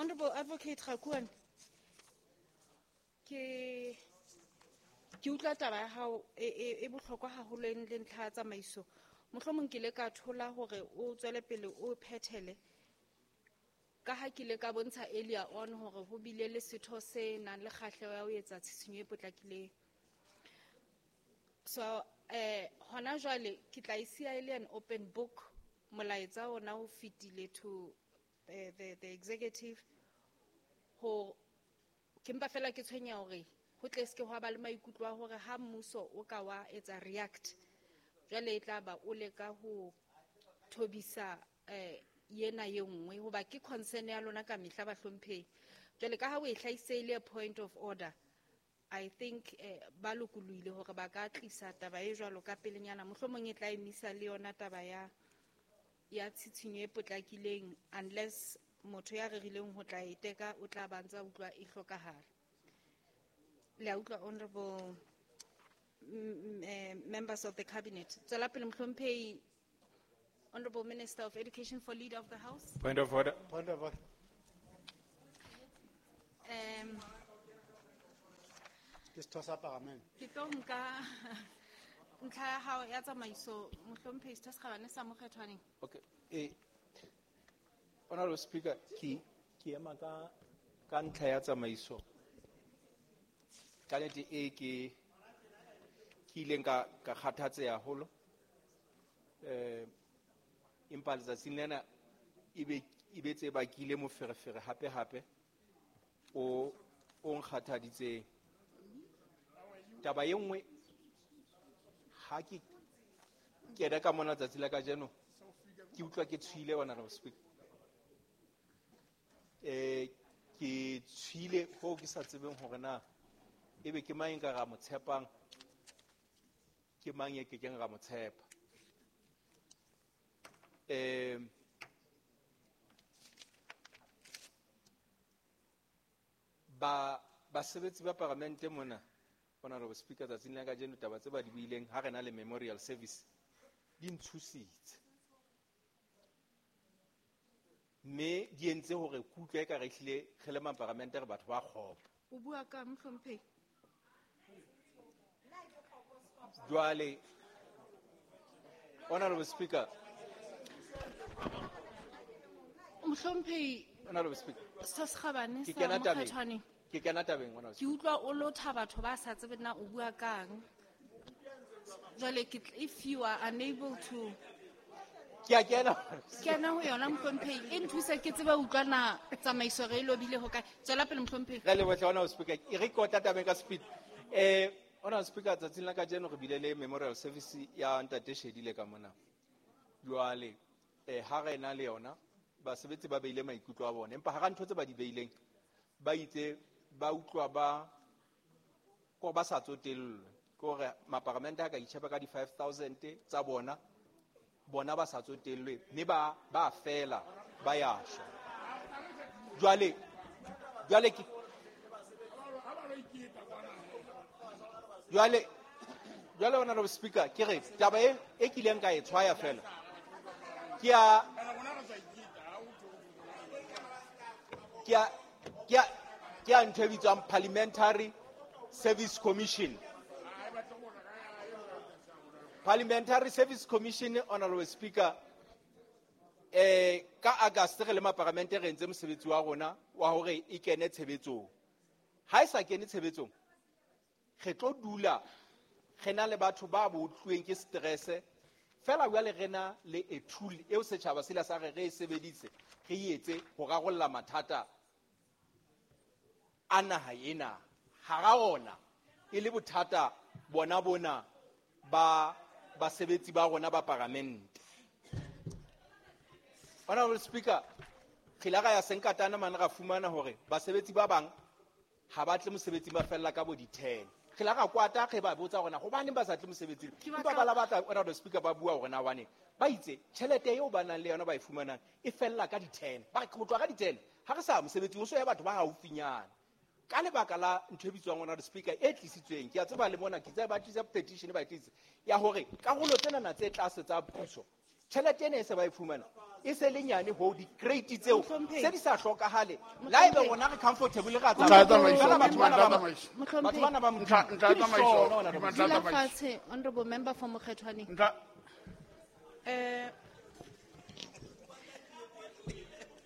Honorable Advocate Rakuan, ke utlwa taba ya hao e bohlokwa haholo e le ntlha ya tsamaiso. Mohlomong ke ile ka thola hore o tswele pele o phethele, ka ha ke ile ka bontsha earlier on hore ho bile le setho se nang le kgahleho ya ho etsa tshisinyo e potlakileng. So hona jwale ke tla e siya e le an open book, molaetsa ona o fetile to the executive. Ho ke mpa fela ke tshwenya hore ho tle se ke hwa ba le maikutlo a hore ha mmuso o ka wa etsa react, jwale e tla ba o leka ho thobisa yena ye nngwe, hoba ke concern ya lona ka mehla bahlomphehi. Jwale ka ha o e hlahisitse e le a point of order, I think ba lokolohile hore ba ka tlisa taba e jwalo ka pelenyana, mohlomong e tla emisa le yona taba ya tshitshinyo e potlakileng, unless motho ya rerileng ho tla e teka o tla ba ntsa utlwa e hlokahala. Le a utlwa, honorable members of the cabinet. Tswela pele mohlomphehi, Honorable Minister of Education for Leader of the House. Point of order. Point of order. Ke setho sa Parliament. Ke tlo nka ntlha ya hao ya tsamaiso, mohlomphehi Setho se Kgabane sa Mokgethwaneng. Okay. Honorable Speaker, ke ema ka ntlha ya tsamaiso. Ka nnete e ke ileng ka kgathatseha haholo. Empa letsatsing lena e be tse bakile moferefere hape hape o nkgathaditseng. Taba e nngwe, ha ke kena ka mona tsatsi la kajeno, ke utlwa ke tshohile, Honorable Speaker. Ke tshohile hoo ke sa tsebeng hore na ebe ke mang e nka ra mo tshepang, ke mang e kekeng ra mo tshepa. Basebetsi ba paramente mona, Honorable Speaker, tsatsing la kajeno taba tse ba di buileng ha re na le memorial service di ntshositse, mme di entse hore ke utlwe eka re hlile re le maparamente re batho ba kgopo. O bua ka mohlomphehi? Jwale, Honorable Speaker. Mohlomphehi, Honorable Speaker. Setho se Kgabane Ke sa kena tabeng. Mokgethwaneng. Ke kena tabeng, Honorable Ke Speaker. utlwa o lotha batho ba sa tsebe na o bua kang. Jwale ke if you are unable to Ke a kena. Kena ho yona, mohlomphehi. E nthuse ke tsebe ho utlwa na tsamaiso re e lobile ho kae. Tswela pele, mohlomphehi. Re leboha, Honorable Speaker. E re kota tabeng ka speed. Honorable Speaker, tsatsing la kajeno re bile le memorial service ya Ntate Shedile ka mona. Jwale, ha re na le yona, basebetsi ba beile maikutlo a bona, empa hara ntho tse ba di beileng, ba itse ba utlwa ba ko ba sa tsotellwe, ke hore maparamente a ka itjhepa ka di-5,000 tsa bona, bona ba sa tsotellwe, mme ba fela, ba ya shwa. Jwale, jwale ke, jwale, jwale Honorable Speaker, ke re taba e kileng ka e tshwaya fela, ke ya, ke ya, ke ya, ke ya ntho e bitswang Parliamentary Service Commission. Parliamentary Service Commission, Honorable Speaker, ka August re le maparamente re entse mosebetsi wa rona wa hore e kene tshebetsong. Ha e sa kene tshebetsong, re tlo dula re na le batho ba botluweng ke stress, fela jwale re na le a tool eo setjhaba sela sa re re e sebedise, re e etse ho rarolla mathata a naha ena. Hara ona e le bothata bona bona ba basebetsi ba rona ba paramente. Honorable Speaker, re ile ra ya Senkatana mane ra fumana hore basebetsi ba bang ha ba tle mosebetsing, ba fella ka bo di-10. Re ile ra kwata re ba botsa hore na hobaneng ba sa tle mosebetsing. Ke Empa batla ba la batla, Honorable Speaker, ba bua hore na hobaneng. Ba itse tjhelete eo ba nang le yona ba e fumanang e fella ka di-10. Ba re ho tloha ka di-10 ha re sa mosebetsing, ho so ya batho ba haufinyana. Ka lebaka la ntho e bitswang Honorable Speaker e tlisitsweng, ke a tseba le mona, ke tseba ba tlisa petition, ba e tlisa ya hore karolo tsenana tse tlase tsa puso, tjhelete ena e se ba e fumana E se le nyane ho di-crate tseo Mohlomphehi. Se di sa hlokahale. La ebe Mohlomphehi. rona re comfortable ra Ntlha ya tsamaya. tsamaiso, Fela batho bana ntlha ba ya tsamaiso. Mohlomphehi. Batho bana ba Ntlha Modimo. ya Ke tsamaiso, disono, honorable ntlha ya Dula tsamaiso. fatshe, honorable member for Mokgethwaneng. Ntlha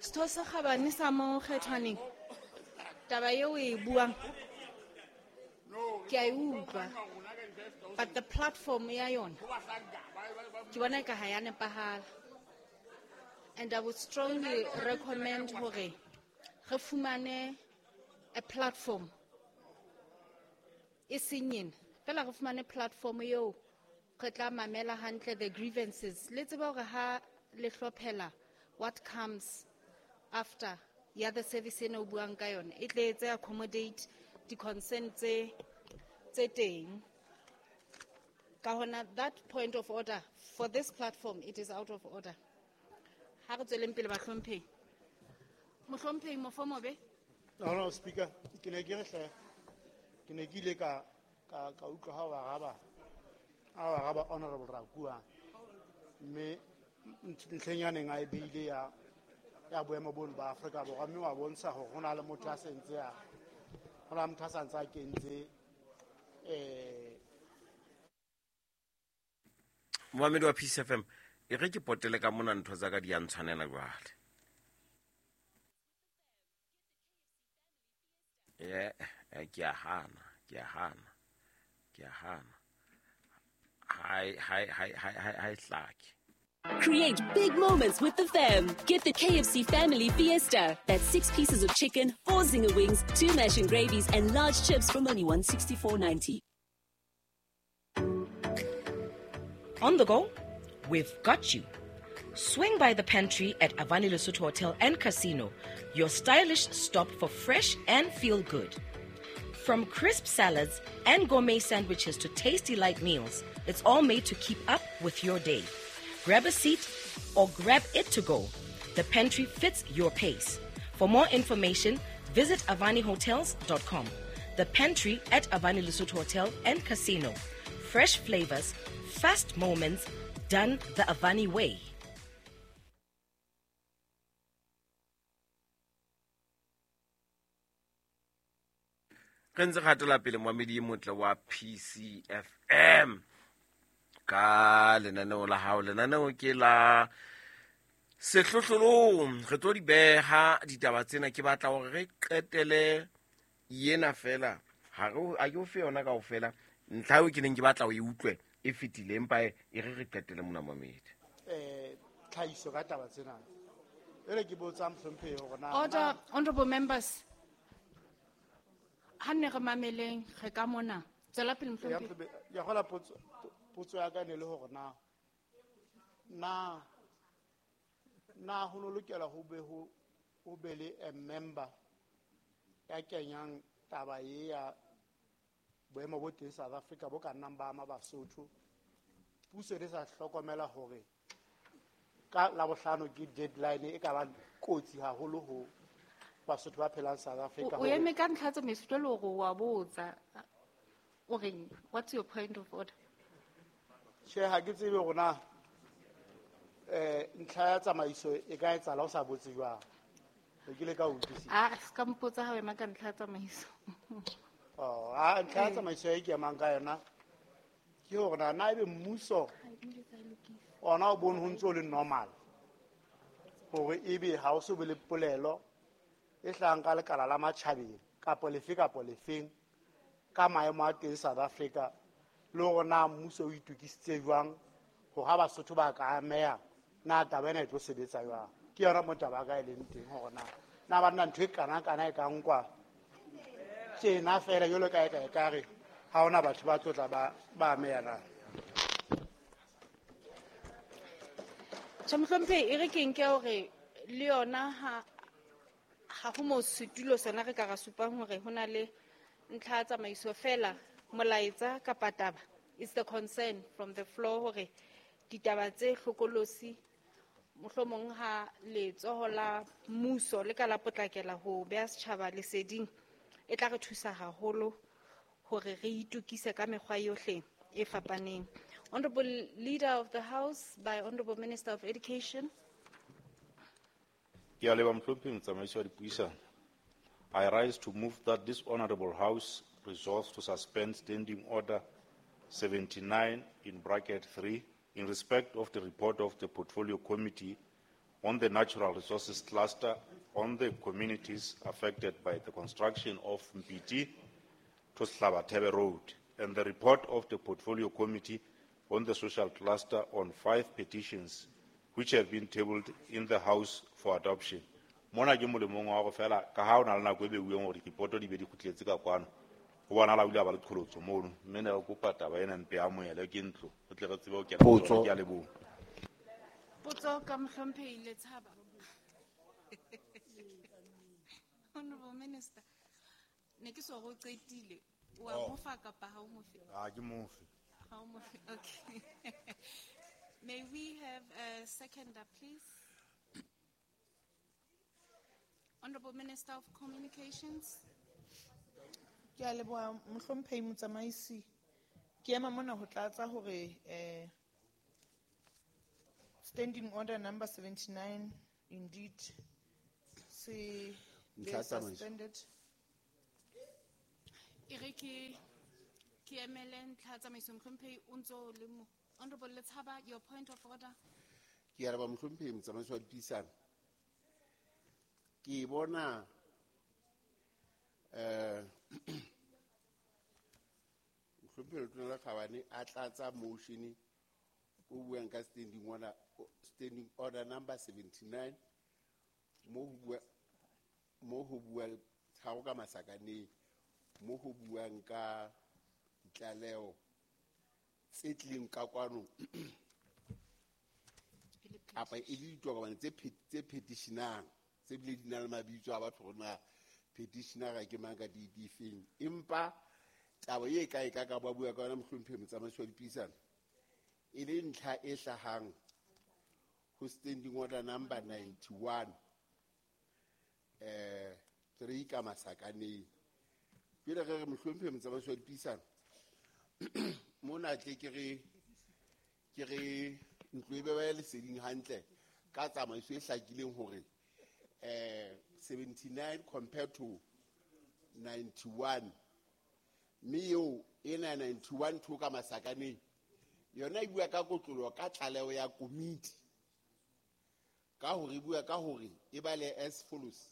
Setho se kgabane sa Mokgethwaneng, taba eo o e buang ke a e utlwa, but the platform ya yona ke bona eka ha ya nepahala, and I would strongly recommend hore re fumane a platform e seng ena fela, re fumane platform eo re tla mamela hantle the grievances. Le tseba hore ha le hlophela what comes after ya the service ena o buang ka yona e tle etse accommodate di-concern tse teng. Ka hona that point of order for this platform, it is out of order. Ha re tsweleng pele, bahlomphehi. Mohlomphehi Mofomobe. Honorable Speaker, ke ne ke re hle, ke ne ke ile ka utlwa ha o araba, ha o araba Honorable Rakua, mme ntlheng ya neng a e beile ya boemo bono ba Afrika Borwa, mme wa bontsha hore ho na le motho a sentse a, ho na le motho a sa ntse a kentse, Momamedi wa Peace FM, e re ke potele ka mona, ntho tsa ka di a ntshwanela jwale. Ke a hana, ke a hana, ke a hana. Ha e hlake. Create big moments with the fam. Get the KFC Family Fiesta. That's 6 pieces of chicken, 4 zinger wings, 2 mash and gravies, and large chips from only $164.90. On the go? We've got you. Swing by the pantry at Avani Lesotho Hotel and Casino, your stylish stop for fresh and feel good. From crisp salads and gourmet sandwiches to tasty light meals, it's all made to keep up with your day. Grab a seat or grab it to go. The pantry fits your pace. For more information, visit avanihotels.com. The pantry at Avani Lesotho Hotel and Casino. Fresh flavors, fast moments, done the Avani way. Re ntse re hatela pele, moamedi e motle wa PCFM, ka lenaneo la hao. Lenaneo ke la sehlohlolong. Re tlo di beha ditaba tsena, ke batla hore re qetele yena fela. Ha re a ke o fe yona kaofela. Ntlha eo ke neng ke batla o e utlwe e fetile, empa e re re qetele mona, moamedi. Tlhahiso ka taba tsena. Ere ke botsa mohlomphehi hore na Order, honorable members. Ha nne re mameleng, re ka mona. Tswela pele, Ya mohlomphehi. mohlomphehi, ya hola potso ya ka ne le hore na ho no lokela ho be ho be le a member ya kenyang taba e ya boemo bo teng South Africa bo ka nnang ba ama Basotho. Puso e sa hlokomela hore ka Labohlano ke deadline e ka ba kotsi haholo ho Basotho ba phelang South Africa. O eme ka ntlha tsa tsamaiso jwale hore wa botsa. O reng? What's your point of order? Tjhe, ha ke tsebe hore na, ntlha ya tsamaiso e ka etsahala o sa botse jwang. Ke ile ka utlwisisa. Ah, se ka mpotsa ha o ema ka ntlha ya tsamaiso. Oh, ah, ntlha ya tsamaiso e ke emang ka yona ke hore na ebe mmuso ona o bone ho ntso o le normal hore ebe ha o so be le polelo e hlahang ka lekala la matjhabeng kapo lefe kapo lefeng ka maemo a teng South Africa, le hore na mmuso o itokisitse jwang hore ha Basotho ba ka ameha na taba ena e tlo sebetsa jwang. Ke yona mo taba ya ka e leng teng hore na banna ntho e kana-kana e ka nkwa tjena feela jwalo ka e ka ekare ha hona batho ba tlo tla ba ameha na. Tjhe, mohlomphehi, e re ke nke hore le yona ha ho mo setulo sona re ka ra supang hore ho na le ntlha ya tsamaiso fela, molaetsa kapa taba. It's the concern from the floor hore ditaba tse hlokolosi mohlomong ha letsoho la mmuso le ka la potlakela ho beha setjhaba leseding, e tla re thusa haholo hore re itokise ka mekgwa yohle e fapaneng. Honorable Leader of the House by Honorable Minister of Education. Ke a leboha mohlomphehi motsamaisi wa dipuisano. I rise to move that this honorable house resolves to suspend standing order 79 in bracket 3 in respect of the report of the portfolio committee on the natural resources cluster on the communities affected by the construction of Mpiti to Sehlabathebe Road and the report of the portfolio committee on the social cluster on 5 petitions which have been tabled in the House for adoption. Mona ke molemong wa go fela ka ha o na le nako e beuweng hore dipoto di be di kgutletse ka kwano. Ho bonahala o ile a ba le qholotso mono, mme ne re kopa taba ena mpe a amohelwe ke ntlo, re tle re tsebe ho kena ho tsona. Potso. Ke a leboha. Potso ka mohlomphehi Letshaba. Honorable Minister, ne ke so go qetile. Wa Oh. mo fa kapa ha o mo fe? Ha ke mo fe. Ha o mo fe. Okay. May we have a seconder, please? Honorable Minister of Communications. Ke a leboha mohlomphehi motsamaisi. Ke ema mona ho tlatsa hore standing order number 79 indeed se Ntlha ya tsamaiso. suspended. E re ke emele ntlha ya tsamaiso mohlomphehi o ntso le mo. Honorable Letshaba, your point of order. Ke araba mohlomphehi motsamaisi wa dipuisano. Ke bona mohlomphehi Letona la Kgabane a tlatsa motion o buang ka standing order number 79 mo ho buang tharo ka masakaneng, mo ho buang ka ditlaleho tse tlileng ka kwano kapa e le ditokomane tse petitionang tse bile di na le mabitso a batho hore na petitionera ke mang ka date efeng. Empa taba e ka e ka ka ba bua ka yona mohlomphehi motsamaisi wa dipuisano e le ntlha e hlahang ho standing order number 91 3 ka masakaneng. Pele re re mohlomphehi motsamaisi wa dipuisano mona tle ke re ntlo e be ba leseding hantle ka tsamaiso e hlakileng hore 79 compared to 91, mme eo ena 91 two ka masakaneng yona e bua ka kotloloho ka tlaleho ya komiti ka hore e bua ka hore e bale as follows: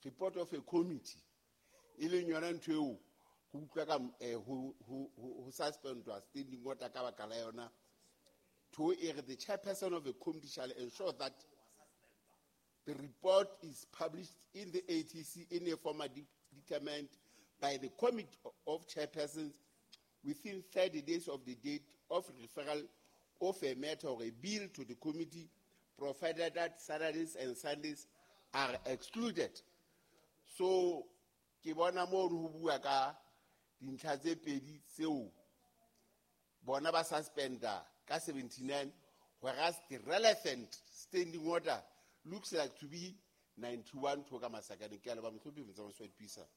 report of a committee, e leng yona ntho eo ho utlwa ka ho suspendwa standing order ka baka la yona. To e re the chairperson of a committee shall ensure that the report is published in the ATC in a format determined by the committee of chairpersons within 30 days of the date of referral of a matter or a bill to the committee, provided that Saturdays and Sundays are excluded. So, ke bona moo ho bua ka dintlha tse pedi tseo bona ba suspenda ka 79, whereas the relevant standing order looks like to be 91 to ka masakaneng. Ke a leboha mohlomphehi motsamaisi wa dipuisano.